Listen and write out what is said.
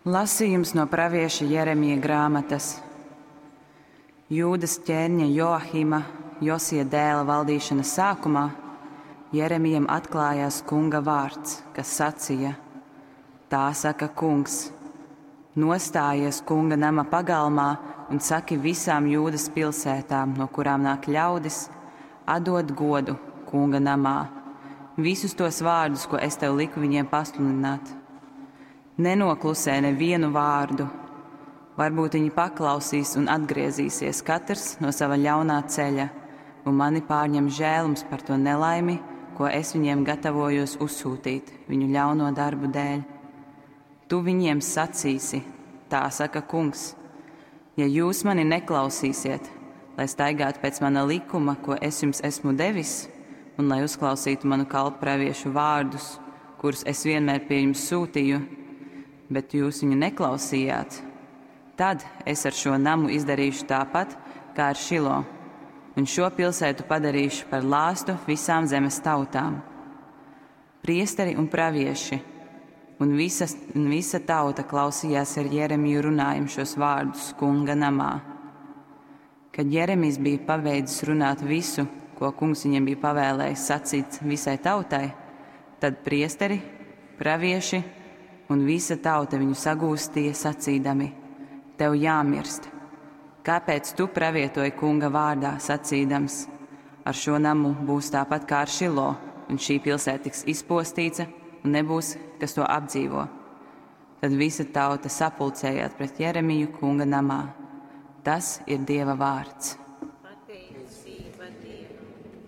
Lasījums no pravieša Jeremija grāmatas. Jūdas ķēniņa Joahima, Josija dēla valdīšanas sākumā Jeremijam atklājās kunga vārds, kas sacīja: Tā saka kungs, nostājies kunga nama pagalmā un saki visām Jūdas pilsētām, no kurām nāk ļaudis, atdod godu kunga namā, visus tos vārdus, ko es tev liku viņiem pasludināt. Nenoklusē nevienu vārdu. Varbūt viņi paklausīs un atgriezīsies katrs no sava ļaunā ceļa, un mani pārņem žēlums par to nelaimi, ko es viņiem gatavojos uzsūtīt viņu ļauno darbu dēļ. Tu viņiem sacīsi, tā saka kungs, ja jūs mani neklausīsiet, lai staigātu pēc mana likuma, ko es jums esmu devis, un lai uzklausītu manu kalpu praviešu vārdus, kurus es vienmēr pie jums sūtīju, bet jūs viņu neklausījāt, tad es ar šo namu izdarīšu tāpat kā ar Šilo, un šo pilsētu padarīšu par lāstu visām zemes tautām. Priesteri un pravieši un, visas, un visa tauta klausījās ar Jeremiju runājumu šos vārdus kunga namā. Kad Jeremijs bija pabeidzis runāt visu, ko kungs viņam bija pavēlējis sacīt visai tautai, tad priesteri, pravieši un visa tauta viņu sagūstīja, sacīdami: Tev jāmirst! Kāpēc tu pravietoji kunga vārdā, sacīdams: Ar šo namu būs tāpat kā ar Šilo, un šī pilsēta tiks izpostīta, un nebūs, kas to apdzīvo? Tad visa tauta sapulcējās pret Jeremiju kunga namā. Tas ir Dieva vārds.